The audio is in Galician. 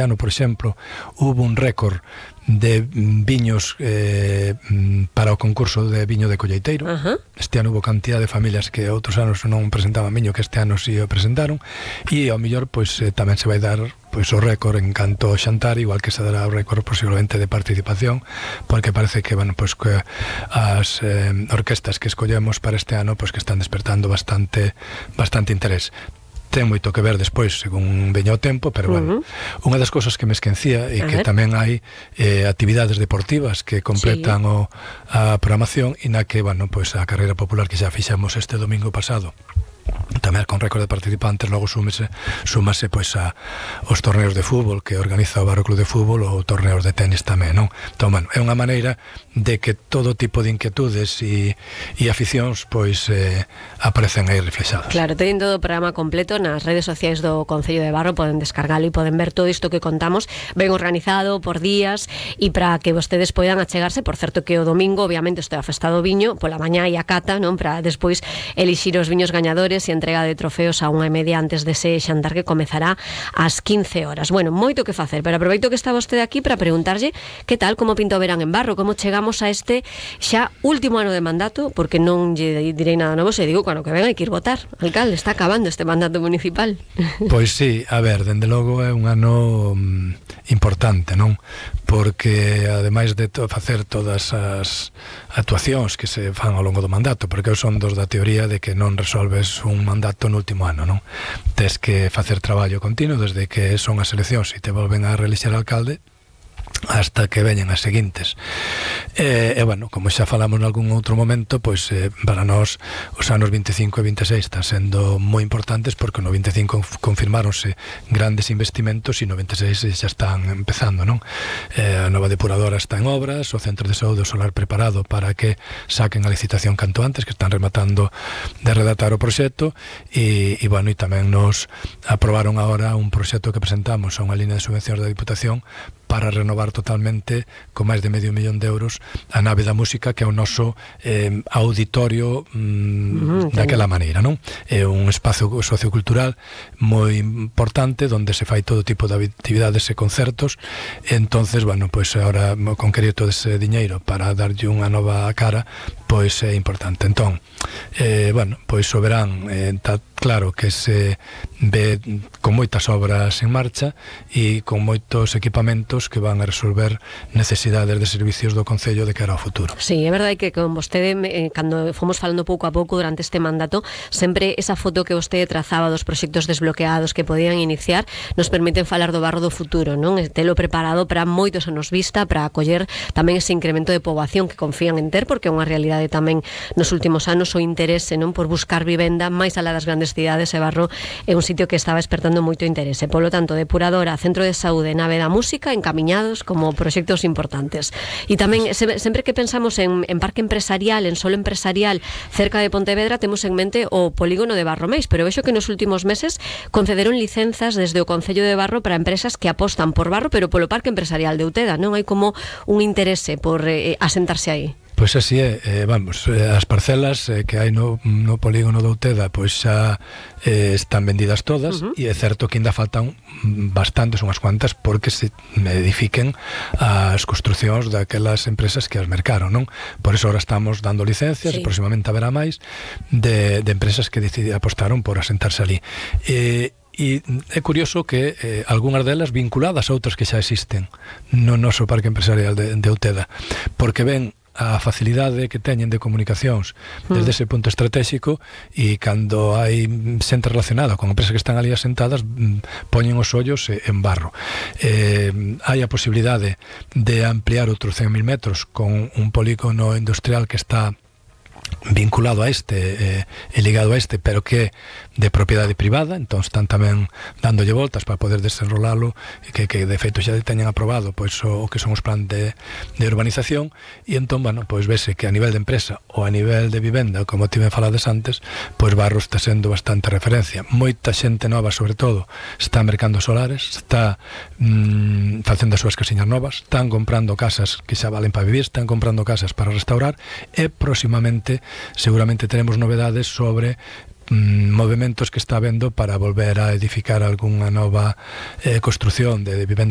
ano, por exemplo, hubo un récord de viños para o concurso de viño de colleiteiro. Este ano hubo cantidad de familias que outros anos non presentaban viño, que este ano si o presentaron, e ao mellor pois tamén se vai dar pois o récord en canto ao xantar, igual que se dará o récord posiblemente de participación, porque parece que, bueno, pois que as orquestas que escollemos para este ano pois que están despertando bastante interés. Ten moito que ver despois según veña o tempo, pero bueno, unha das cousas que me esquecía e que tamén hai actividades deportivas que completan a programación, e na que, bueno, pois a carreira popular que xa fixemos este domingo pasado, tamén con récord de participantes, logo súmase pois aos torneos de fútbol que organiza o Barro Club de Fútbol, ou torneos de tenis tamén, non? Entón, bueno, é unha maneira de que todo tipo de inquietudes e aficións pois aparecen aí reflexadas. Claro, teñen todo o programa completo nas redes sociais do Concello de Barro, poden descargalo e poden ver todo isto que contamos ben organizado por días, e para que vostedes poidan achegarse. Por certo que o domingo obviamente este é a festa do viño, pola mañá e a cata, non, para despois elixir os viños gañadores e entrega de trofeos a 1:30 antes dese xantar que comezará ás 15 horas. Bueno, moito que facer, pero aproveito que está vostede aquí para preguntarlle que tal, como pinta o verán en Barro, como chegamos a este xa último ano de mandato, porque non lle direi nada novo se digo que ano que ven hai que ir votar. Alcalde, está acabando este mandato municipal. Pois sí, a ver, dende logo é un ano importante, non? Porque ademais de facer todas as actuacións que se fan ao longo do mandato, porque eu son dos da teoría de que non resolves un mandato no último ano, non? Tes que facer traballo continuo desde que son as eleccións e te volven a reelixer alcalde hasta que veñen as seguintes. Bueno, como xa falamos en algún outro momento, pois para nós os anos 25 e 26 están sendo moi importantes, porque no 25 confirmáronse grandes investimentos e no 26 xa están empezando, non? A nova depuradora está en obras, o centro de saúde solar preparado para que saquen a licitación canto antes, que están rematando de redactar o proxecto, e bueno, e tamén nos aprobaron agora un proxecto que presentamos a unha línea de subvencións da Diputación para renovar totalmente con máis de medio millón de euros a nave da música, que é o noso auditorio daquela maneira, non? É un espazo sociocultural moi importante onde se fai todo tipo de actividades e concertos. Entonces, bueno, pois agora con crédito dese diñeiro para darlle unha nova cara, pois é importante. Entón, bueno, pois o verán está claro que se ve con moitas obras en marcha e con moitos equipamentos que van a resolver necesidades de servicios do Concello de cara ao futuro. Sí, é verdade que con vostede, cando fomos falando pouco a pouco durante este mandato, sempre esa foto que vostede trazaba dos proxectos desbloqueados que podían iniciar nos permiten falar do Barro do futuro, non? Telo preparado para moitos anos vista, para acoller tamén ese incremento de poboación que confían en ter, porque é unha realidade tamén nos últimos anos o interese, non, por buscar vivenda máis alá das grandes cidades, e Barro é un sitio que estaba despertando moito interese. Polo tanto, depuradora, centro de saúde, nave da música, encamiñados como proxectos importantes. E tamén, sempre que pensamos en parque empresarial, en solo empresarial cerca de Pontevedra, temos en mente o polígono de Barromeis, pero vexo que nos últimos meses concederon licenzas desde o Concello de Barro para empresas que apostan por Barro, pero polo parque empresarial de Uteda, non? Hai como un interese por asentarse aí. Pois así é, vamos, as parcelas que hai no polígono de Uteda pois xa están vendidas todas, e é certo que ainda faltan bastantes, unhas cuantas, porque se edifiquen as construcións daquelas empresas que as mercaron, non? Por iso ahora estamos dando licencias, e próximamente haberá máis de empresas que apostaron por asentarse ali. E é curioso que algunhas delas vinculadas a outras que xa existen no noso parque empresarial de Uteda, porque ven a facilidade que teñen de comunicacións desde ese punto estratégico, e cando hai xente relacionada con empresas que están ali asentadas, poñen os ollos en Barro. Hai a posibilidade de ampliar outros 100.000 metros con un polígono industrial que está vinculado a este e ligado a este, pero que é de propiedade privada, entón están tamén dándolle voltas para poder desenrolalo, que de feito xa teñen aprobado pois o que son os plan de urbanización, e entón, bueno, pois vese que a nivel de empresa ou a nivel de vivenda, como tiven falades antes, pois Barro está sendo bastante referencia. Moita xente nova, sobre todo, está mercando solares, está facendo as súas casiñas novas, están comprando casas que xa valen para vivir, están comprando casas para restaurar, e próximamente seguramente teremos novedades sobre movementos que está habendo para volver a edificar algunha nova construción de vivenda